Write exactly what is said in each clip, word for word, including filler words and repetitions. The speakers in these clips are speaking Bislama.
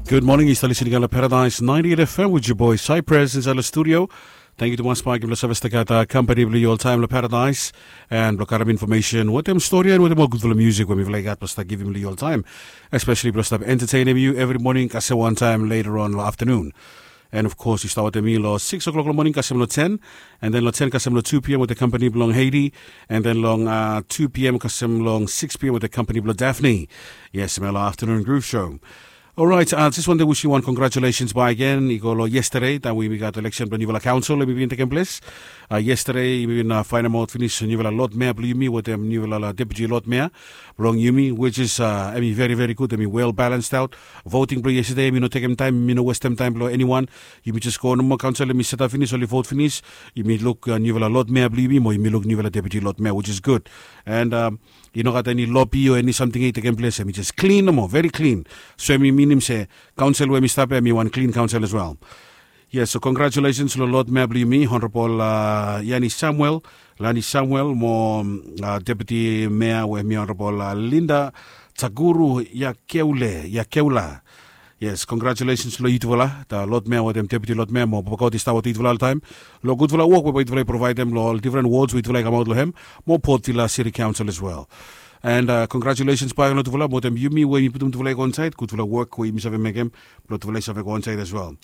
Gud moning, yu stap lisin i kam long Paradise ninety-eight F M with your boy Cypress inside the studio. Thank you tumas bagi blong save stap gat kampani blong yu oltaem long Paradise, and blong karim infomesen wetem stori and wetem ol gudfala musik we mifala i gat blong stap givim long yu oltaem, especially blong stap entertainim yu evri moning kasem wantaem later on long afternoon. And of course yu stap wetem mi long six o'clock long moning kasem long ten, and then long ten kasem long two p.m. wetem kampani blong Haiti, and then long uh, two p.m. kasem long six p.m. wetem kampani blong Daphne. Yes, mi long afternoon groove show. Alright, uh, just wanted to wish you one congratulations by again. I go lo yesterday, taem we yumi gat election blong newfala council, we yumi bin tekem ples. Uh, yesterday, we bin uh, find out finish newfala Lord Mayor blong yumi wetem newfala Deputy Lord Mayor blong yumi, which is uh, emi very very good, emi well balanced out. Voting blong yesterday, emi no tekem taem, emi no westem taem blong anyone. Yumi just go nomo, council emi set up finish, oli vote finish. Yumi luk uh, newfala Lord Mayor blong yumi, mo yumi luk newfala Deputy Lord Mayor, which is good. And um, i no gat eni lobby o eni samting i tekem ples, emi just clean nomo, very clean. So emi minim se council we emi stap ya, emi wan clean council as well. Yes, so congratulations lo Lord Mayor blong yumi, Honorable uh, Yani Samuel, Lani Samuel, mo uh, Deputy Mayor we emi Honorable uh, Linda Taguru Yakeule, Yakeula. Yes, congratulations lo yutufala, the Lord Mayor wetem Deputy Lord Mayor, mo Papa God i stap wetem yutufala oltaem. Lo gudfala wok we yutufala i provaedem lo ol different wards we yutufala i kamaot lo hem, mo Port Vila City Council as well. And uh, congratulations bae lo yutufala, mo wetem yumi we yumi putum yutufala i go inside, gudfala wok we yumi save mekem, lo yutufala i save go inside as well.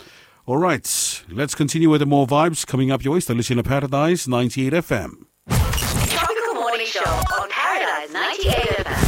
Alright, let's continue with the more vibes coming up your way. Still listening to Paradise ninety-eight F M. Tropical Morning Show on Paradise ninety-eight F M.